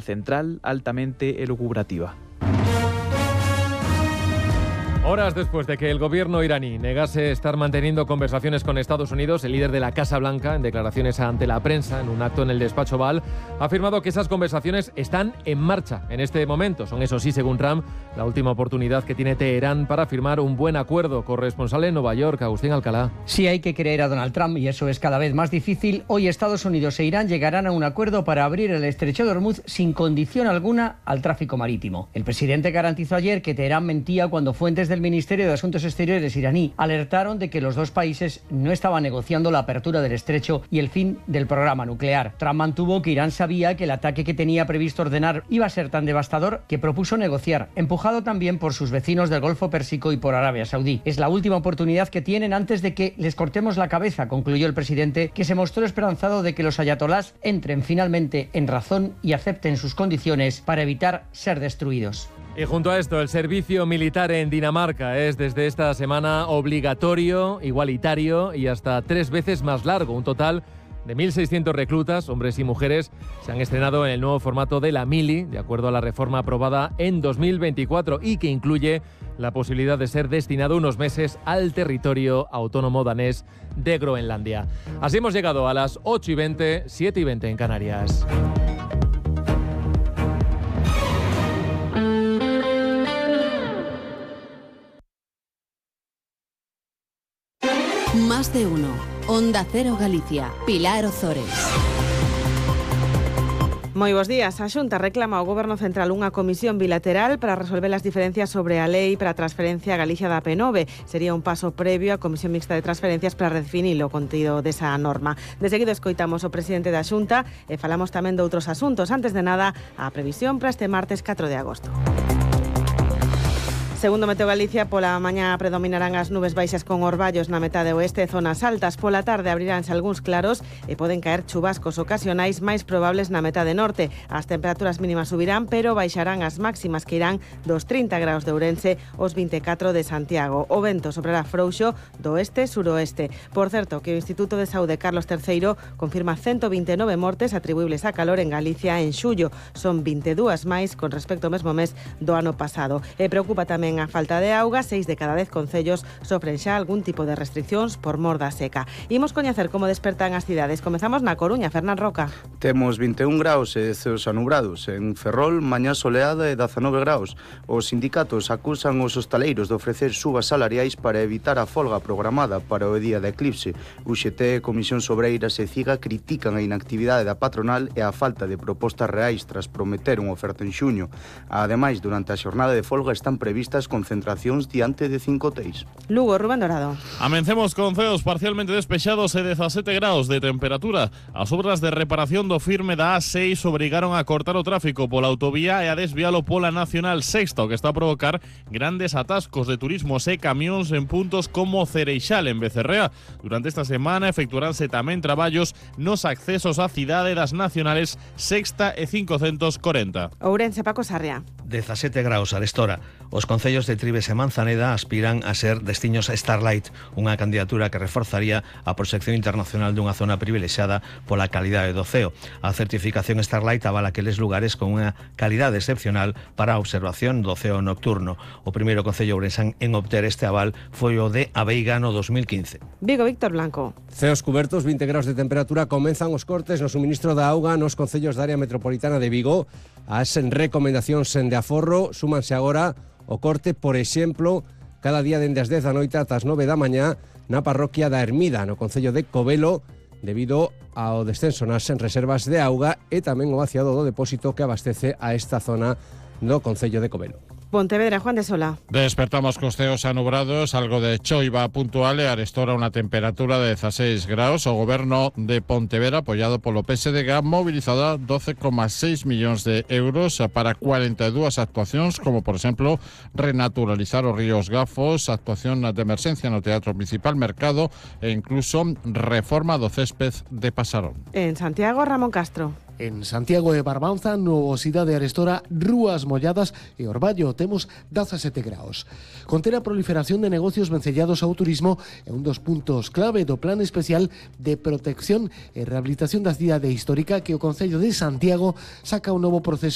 central altamente elucubrativa. Horas después de que el gobierno iraní negase estar manteniendo conversaciones con Estados Unidos, el líder de la Casa Blanca, en declaraciones ante la prensa en un acto en el despacho Oval, ha afirmado que esas conversaciones están en marcha en este momento. Son, eso sí, según Trump, la última oportunidad que tiene Teherán para firmar un buen acuerdo. Corresponsal en Nueva York, Agustín Alcalá. Sí, hay que creer a Donald Trump y eso es cada vez más difícil. Hoy Estados Unidos e Irán llegarán a un acuerdo para abrir el estrecho de Hormuz sin condición alguna al tráfico marítimo. El presidente garantizó ayer que Teherán mentía cuando fuentes del Ministerio de Asuntos Exteriores iraní alertaron de que los dos países no estaban negociando la apertura del estrecho y el fin del programa nuclear. Trump mantuvo que Irán sabía que el ataque que tenía previsto ordenar iba a ser tan devastador que propuso negociar, empujado también por sus vecinos del Golfo Pérsico y por Arabia Saudí. Es la última oportunidad que tienen antes de que les cortemos la cabeza, concluyó el presidente, que se mostró esperanzado de que los ayatolás entren finalmente en razón y acepten sus condiciones para evitar ser destruidos. Y junto a esto, el servicio militar en Dinamarca es desde esta semana obligatorio, igualitario y hasta 3 veces más largo. Un total de 1.600 reclutas, hombres y mujeres, se han estrenado en el nuevo formato de la mili, de acuerdo a la reforma aprobada en 2024 y que incluye la posibilidad de ser destinado unos meses al territorio autónomo danés de Groenlandia. Así hemos llegado a las 8:20, 7:20 en Canarias. Más de uno. Onda Cero Galicia. Pilar Ozores. Moi bos días. A Xunta reclama ao Goberno Central unha comisión bilateral para resolver as diferencias sobre a lei para a transferencia a Galicia da P9. Sería un paso previo á Comisión Mixta de Transferencias para redefinir o contido desa norma. De seguido escoitamos o presidente da Xunta e falamos tamén de outros asuntos. Antes de nada, a previsión para este martes 4 de agosto. Segundo Meteo Galicia, pola mañá predominarán as nubes baixas con orballos na metade oeste e zonas altas. Pola tarde abriránse algúns claros e poden caer chubascos ocasionais máis probables na metade norte. As temperaturas mínimas subirán, pero baixarán as máximas que irán dos 30 graus de Ourense aos 24 de Santiago. O vento soprará frouxo do oeste-suroeste. Por certo, que o Instituto de Saúde Carlos III confirma 129 mortes atribuibles a calor en Galicia en xullo. Son 22 máis con respecto ao mesmo mes do ano pasado. E preocupa tamén a falta de auga. 6 de cada 10 concellos sofren xa algún tipo de restriccións por mor da seca. Imos coñecer como despertan as cidades. Comezamos na Coruña, Fernán Roca. Temos 21 graus e ceos anubrados. En Ferrol, mañá soleada e 19 graus. Os sindicatos acusan os hostaleiros de ofrecer subas salariais para evitar a folga programada para o día de eclipse. UGT, Comisión Sobreiras e CIGA critican a inactividade da patronal e a falta de propostas reais tras prometer unha oferta en xuño. Ademais, durante a xornada de folga están previstas concentracións diante de 5 hoteis. Lugo, Rubén Dorado. Amencemos con ceos parcialmente despexados e 17 graus de temperatura. As obras de reparación do firme da A6 obrigaron a cortar o tráfico pola autovía e a desvialo pola Nacional Sexta, o que está a provocar grandes atascos de turismos e camións en puntos como Cereixal, en Becerrea. Durante esta semana efectuaránse tamén traballos nos accesos á cidade das Nacionales Sexta e 540. Ourense, Paco Sarria. 17 graus arestora. Os concellos de Tribes e Manzaneda aspiran a ser destinos Starlight, unha candidatura que reforzaría a proxección internacional dunha zona privilexiada pola calidade do ceo. A certificación Starlight avala aqueles lugares con unha calidade excepcional para a observación do ceo nocturno. O primeiro concello ourensán en obter este aval foi o de Aveiga no 2015. Vigo, Víctor Blanco. Ceos cubertos, 20 graus de temperatura, comenzan os cortes no suministro da auga nos concellos da área metropolitana de Vigo. As recomendacións de aforro súmanse agora o corte, por exemplo, cada día dende as 10 da noite ata as 9 da mañá na parroquia da Ermida, no concello de Covelo, debido ao descenso nas reservas de auga e tamén o vaciado do depósito que abastece a esta zona do concello de Covelo. Pontevedra, Juan de Sola. Despertamos con ceos anubrados, algo de choiva puntual e arestora unha temperatura de 16 graus. O goberno de Pontevedra, apoiado polo PSDG, mobilizada 12,6 millóns de euros para 42 actuacións, como por exemplo renaturalizar os ríos Gafos, actuación de emerxencia no Teatro Principal Mercado e incluso reforma do césped de Pasarón. En Santiago, Ramón Castro. En Santiago e Barbanza, nubosidade arestora, rúas molladas e Orballo, temos 17 graus. Conter a proliferación de negocios vencellados ao turismo é un dos puntos clave do Plan Especial de Protección e Rehabilitación da Cidade Histórica que o Concello de Santiago saca un novo proceso